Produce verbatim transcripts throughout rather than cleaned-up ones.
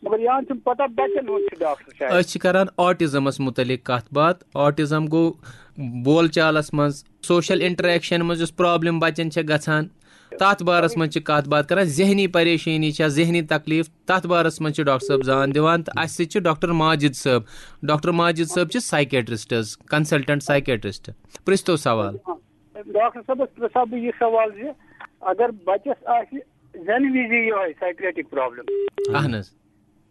مگر یہن چھُنہٕ پتہ بچن ہُنٛد چھُ ڈاکٹر صاحب۔ أسۍ چھِ کران آٹزمس متعلق کتھ باتھ۔ آٹزم گوٚو بول چالس منٛز، سوشل انٹریکشن منٛز یُس پرابلم بچن چھےٚ گژھان، تتھ بارس منٛز چھِ کتھ باتھ کران۔ ذہنی پریشٲنی چھےٚ، ذہنی تکلیف، تتھ بارس منٛز چھِ ڈاکٹر صٲب زان دِوان۔ تہٕ اسہِ سۭتۍ چھِ ڈاکٹر ماجد صٲب۔ ڈاکٹر ماجد صٲب چھِ سائیکیٹرسٹ حظ، کنسلٹنٹ سائیکیٹرسٹ۔ پرژھتو سوال۔ ڈاکٹر صٲبس پرژھا بہٕ یہِ سوال زِ اگر بچس آسہِ زنہٕ وِزِ یِہوٚے سایکریٹک پرابلم، اہن حظ۔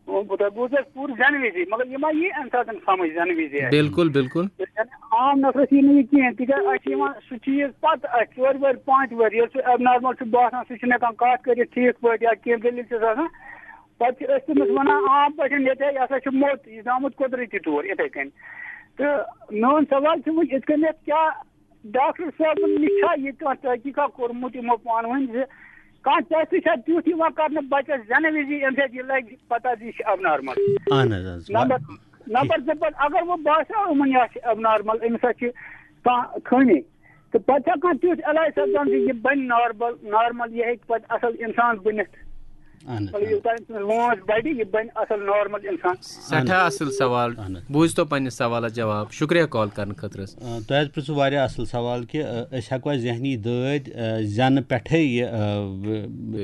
بہٕ تۄہہِ بوٗز اَسہِ پوٗرٕ زنہٕ وِزِ، مگر یہِ ما یی اَمہِ ساتہٕ سمجھ زنہٕ وِزِ اَسہِ؟ بالکل، بالکل۔ یعنی عام نفرس یی نہٕ یہِ کینٛہہ، تِکیٛازِ اَسہِ چھِ یِوان سُہ چیٖز پتہٕ اَسہِ ژورِ ؤہرۍ پانٛژِ ؤہرۍ، ییٚلہِ سُہ ایب نارمل چھُ باسان، سُہ چھُنہٕ ہٮ۪کان کتھ کٔرِتھ ٹھیٖک پٲٹھۍ یا کینٛہہ دٔلیٖل چھس آسان، پتہٕ چھِ أسۍ تٔمِس ونان عام پٲٹھۍ، ییٚتہِ یہِ ہسا چھُ موٚت، یہِ چھُ آمُت قۄدرٔتی طور یِتھے کٔنۍ۔ تہٕ میون سوال چھُ وۄنۍ یِتھ کٔنٮ۪تھ، کیٛاہ ڈاکٹر صٲبن نِش چھا یہِ کانٛہہ تحقیٖقا کوٚرمُت یِمو پانہٕ ؤنۍ زِ کانٛہہ ٹیسٹ چھا تیُتھ یِوان کرنہٕ بچس زنہٕ وِزِ، ییٚمہِ سۭتۍ یہِ لگہِ پتہ زِ یہِ چھُ ایب نارمل؟ اہن حظ، اہن حظ۔ نمبر نمبر زٕ پتہٕ اگر وۄنۍ باسیو یِمن یہِ چھُ ایب نارمل، أمِس ہا چھِ کانٛہہ خٲمی، تہٕ پتہٕ چھا کانٛہہ تیُتھ علاج سپدان زِ یہِ بنہِ نارمل، نارمل، یہِ ہیٚکہِ پتہٕ اصل انسان بٔنِتھ؟ اہن حظ، مطلب یوٚتام أمِس وٲنٛس بڑِ، یہِ بنہِ اصل نارمل انسان۔ سٮ۪ٹھاہ اصل سوال۔ اہن حظ۔ بوٗزتو پننِس سوالس جواب۔ شُکریہ کال کرنہٕ خٲطرٕ حظ۔ آ، تۄہہِ حظ پرٛژھوٗ واریاہ اَصٕل سوال کہِ آ، أسۍ ہٮ۪کوا ذہنی دٲدۍ آ، زٮ۪نہٕ پٮ۪ٹھَے یہِ آ،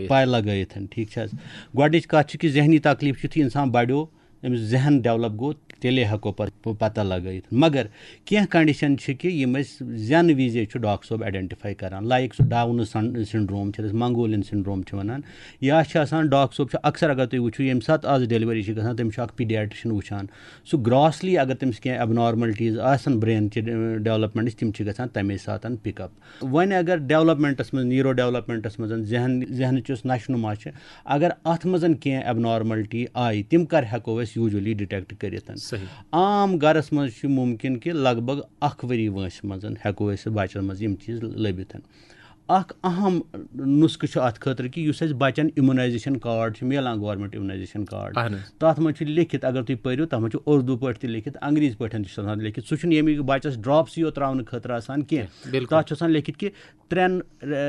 پَے لَگٲیِتھ، ٹھیٖک چھِ حظ؟ گۄڈٕنِچ کَتھ چھِ کہِ ذہنی تکلیٖف چھِ یُتھُے اِنسان بَڑیو، أمِس ذہن ڈٮ۪ولَپ گوٚو، تیٚلے ہٮ۪کو پَتہٕ پَتہ لَگٲیِتھ۔ مگر کینٛہہ کَنڈِشَن چھِ کہِ یِم أسۍ زٮ۪نہٕ وِزے چھُ ڈاکٹر صٲب آیڈٮ۪نٹِفاے کَران، لایِک سُہ ڈاوُن سن سِنڈروم چھِ، أسۍ منگولین سِنڈروم چھِ وَنان، یا چھِ آسان ڈاکٹر صٲب چھُ اَکثر اگر تُہۍ وٕچھِو ییٚمہِ ساتہٕ آز ڈیلؤری چھِ گژھان، تٔمِس چھُ اَکھ پیٖڈیاٹرٛشَن وٕچھان، سُہ گراسلی اگر تٔمِس کینٛہہ ایبنارملٹیٖز آسَن برین چہِ ڈیولپمنٹٕچ، تِم چھِ گژھان تَمے ساتَن پِک اپ۔ وۄنۍ اگر ڈیولپمنٹَس منٛز، نیٖرو ڈیولپمنٹَس منٛز ذہن، ذہنٕچ یُس نشو نما چھِ، اگر اَتھ منٛز کینٛہہ ایبنارملٹی آیہِ، تِم کر ہٮ۪کو أسۍ یوٗجولی ڈِٹیکٹ کٔرِتھ؟ صحیح۔ عام گرس منٛز چھُ مُمکِن کہِ لگ بگ اکھ ؤری وٲنٛسہِ منٛز ہٮ۪کو أسۍ بچن منٛز یِم چیٖز لٔبِتھ۔ اکھ اہم نُسخہٕ چھُ اتھ خٲطرٕ کہِ یُس اَسہِ بچن اِمیونایزیشن کارڈ چھُ میلان، گورنمنٹ اِمیونایزیشن کارڈ، اہن حظ۔ تتھ منٛز چھُ لیکھِتھ، اگر تُہۍ پٔرِو، تتھ منٛز چھُ اردو پٲٹھۍ تہِ لیکھِتھ، انگریزی پٲٹھۍ تہِ چھُ آسان لیکھِتھ۔ سُہ چھُنہٕ ییٚمہِ بچس ڈراپسٕے یوت تراونہٕ خٲطرٕ آسان کینٛہہ۔ بِلکُل۔ تتھ چھُ آسان لیکھِتھ کہِ ترٛٮ۪ن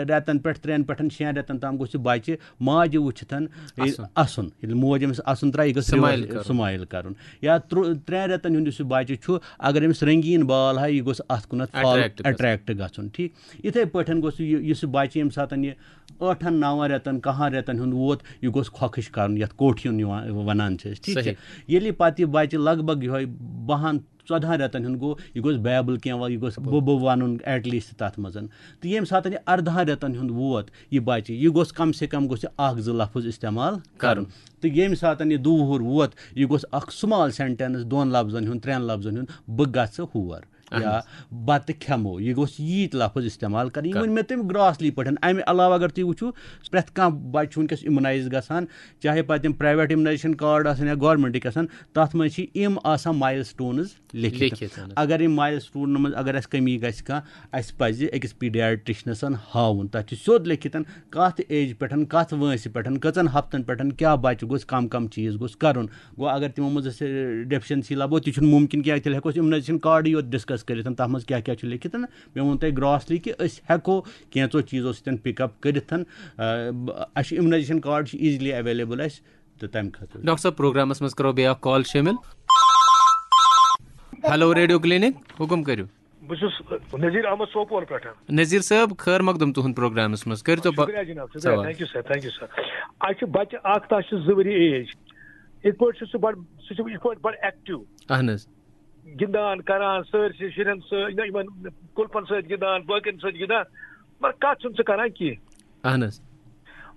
رٮ۪تن پٮ۪ٹھ، ترٛٮ۪ن پٮ۪ٹھ شٮ۪ن رٮ۪تن تام گوٚژھ یہِ بچہِ ماجہِ وٕچھِتھ اَسُن۔ اَسُن۔ ییٚلہِ موج أمِس اَسُن ترٛایہِ، یہِ گٔژھ سمایل reverse کرُن۔ سمایل کرُن۔ یا ترٛو-، ترٛٮ۪ن رٮ۪تن ہُنٛد یُس یہِ بچہِ چھُ، اگر أمِس رنگیٖن بال ہا، یہِ گوٚژھ اَتھ کُنتھ فال اٹریکٹ گژھُن۔ اٹریکٹ گژھُن، ٹھیٖک۔ یِتھے پٲٹھۍ گوٚژھ یہِ، یُس یہِ بچہِ ییٚمہِ ساتن یہِ ٲٹھن نون رٮ۪تن، کہن رٮ۪تن ہُنٛد ووت، یہِ گوٚژھ کھۄکھٕش کرُن، یتھ کوٹھیُن یِوان، ونان چھِ أسۍ، ٹھیٖک چھا؟ صحیح۔ ییٚلہِ پتہٕ یہِ بچہِ لگ بگ یِہوے بہن ژۄدہن رٮ۪تن ہُنٛد گوٚو، یہِ گوٚژھ بایبل کینٛہہ وَ-، یہِ گوٚژھ بہٕ بہٕ ونُن ایٹ لیسٹ تتھ منٛز۔ تہٕ ییٚمہِ ساتن یہِ اردہن رٮ۪تن ہُنٛد ووت، یہِ بچہِ، یہِ گوٚژھ کم سے کم گوٚژھ یہِ اکھ زٕ لفظ استعمال کرُن۔ تہٕ ییٚمہِ ساتن یہِ دُوُہُر ووت، یہِ گوٚژھ اکھ سمال سینٹینس دۄن لفظن ہُنٛد، ترٛٮ۪ن لفظن ہُنٛد، "بہٕ گژھٕ ہور" یا "بتہٕ کھٮ۪مو"، یہِ گوٚژھ ییٖتۍ لفظ استعمال کرٕنۍ۔ یہِ ؤنۍ مےٚ تٔمۍ گراسلی پٲٹھۍ۔ امہِ علاوٕ اگر تُہۍ وٕچھِو، پرٛٮ۪تھ کانٛہہ بچہِ چھُ وٕنکیٚس اِمونایز گژھان، چاہے پتہٕ تِم پرایویٹ اِمونایزیشن کارڈ آسن یا گورنمنٹٕکۍ آسن، تتھ منٛز چھِ یِم آسان مایل سٹونز لیکھِتھ۔ لیکھِتھ، اہن حظ۔ اگر یِم مایل سٹونن منٛز اگر اسہِ کمی گژھِ کانٛہہ، اسہِ پزِ أکِس پیٖڈیاٹرشنس ہاوُن۔ تتھ چھُ سیوٚد لیکھِتھ کتھ ایج پٮ۪ٹھ، کتھ وٲنٛسہِ پٮ۪ٹھ، کٔژن ہفتن پٮ۪ٹھ، کیٛاہ بچہِ گوٚژھ کم کم چیٖز گوٚژھ کرُن۔ گوٚو اگر تِمو منٛز اسہِ ڈیفیشنسی لبو، تہِ چھُنہٕ مُمکِن کینٛہہ، تیٚلہِ ہٮ۪کو أسۍ اِمنایزیشن کارڈٕے یوت ڈسکس کٔرِتھ، تتھ منٛز کیٛاہ کیٛاہ چھُ لیکھِتھ۔ مےٚ ووٚن تۄہہِ گراسلی کہِ أسۍ ہٮ۪کو کینٛژو چیٖزو سۭتۍ پِک اپ کٔرِتھ۔ آ، اسہِ چھُ اِمنایزیشن کارڈ چھُ ایٖزلی ایویلیبل اسہِ، تہٕ تمہِ خٲطرٕ۔ ڈاکٹر صٲب، پروگرامس منٛز کرو بیٚیہِ اکھ کال شٲمِل۔ ہیلو ریڈیو کلینک، حکم کٔرِو۔ بہٕ چھُس نذیر احمد سوپور پٮ۪ٹھ۔ نذیر صٲب، خٲر مقدم تُہُنٛد پروگرامس منٛز، کٔرۍتو پا-، شُکریہ جناب، شُکریہ، سوال۔ Thank you sir, thank you sir. اَسہِ چھُ بچہٕ اکھ، تَس چھُ زٕ ؤری ایج، یِتھ پٲٹھۍ چھُ سُہ بڑٕ، سُہ چھُ یِتھ پٲٹھۍ بڑٕ ایکٹیو، اہن حظ۔ گِنٛدان کران، سٲرسٕے شُرٮ۪ن سۭتۍ، نہ، یِمن کُلپن سۭتۍ گِنٛدان، باقین سۭتۍ گِنٛدان، مگر کتھ چھُنہٕ سُہ کران کینٛہہ۔ اہن حظ۔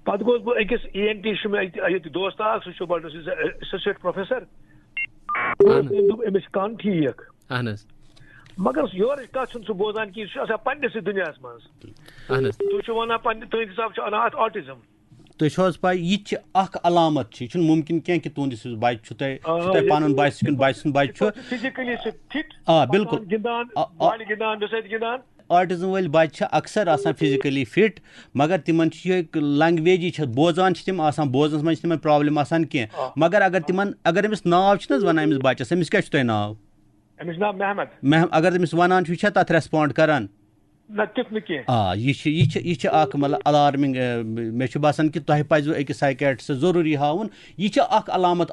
پتہٕ گوس بہٕ أکِس ای این ٹی، چھُ مےٚ ییٚتہِ، ییٚتہِ دوست اکھ، سُہ چھُ بڑٕ، سُہ چھُ ایسوسیٹ پروفیسر۔ اہن حظ۔ تٔمۍ دوٚپ أمِس چھُ کن ٹھیٖک۔ اہن حظ۔ مگر یورٕچ کتھ چھُنہٕ سُہ بوزان کینٛہہ، سُہ چھُ آسان پننِسٕے دُنیاہس منٛز۔ اہن حظ۔ تُہۍ چھِو ونان پننہِ، تُہٕنٛدِ حساب چھُ انان اتھ آٹزم۔ تُہۍ چھِو حظ پاے، یہِ تہِ چھِ اکھ علامت چھِ، یہِ چھُنہٕ مُمکِن کینٛہہ کہِ تُہُنٛد یُس بچہِ چھُ تۄہہِ، چھُ تۄہہِ پنُن بچہِ سُہ کِنہٕ بچہِ سُنٛد بچہِ چھُ۔ فزیکلی چھُ فٹ۔ آ، بالکل۔ گِنٛدان، آ، آ۔ بالہِ گِنٛدان، مےٚ سۭتۍ گِنٛدان۔ آٹزم وٲلۍ بچہِ چھِ اکثر آسان فزیکلی فٹ، مگر تِمن چھِ یہِ لنگویجی چھِ بوزان چھِ تِم آسان، بوزنس منٛز چھِ تِمن پرابلم آسان کینٛہہ۔ آ۔ مگر اگر تِمن، اگر أمِس ناو چھِنہٕ حظ ونان أمِس بچس، أمِس کیٛاہ چھُ تۄہہِ ناو؟ أمِس چھُ ناو محمد۔ مح-، اگر أمِس ونان چھُ، یہِ چھا تتھ ریسپونڈ کران؟ نہ، تیُتھ نہٕ کینٛہہ۔ آ، یہِ چھِ، یہِ چھِ، یہِ چھِ اکھ، مطلب، الارمنگ، اے، مےٚ چھُ باسان کہِ تۄہہِ پزِوٕ أکِس سایکیٹرسٹس ضروٗری ہاوُن۔ یہِ چھِ اکھ علامت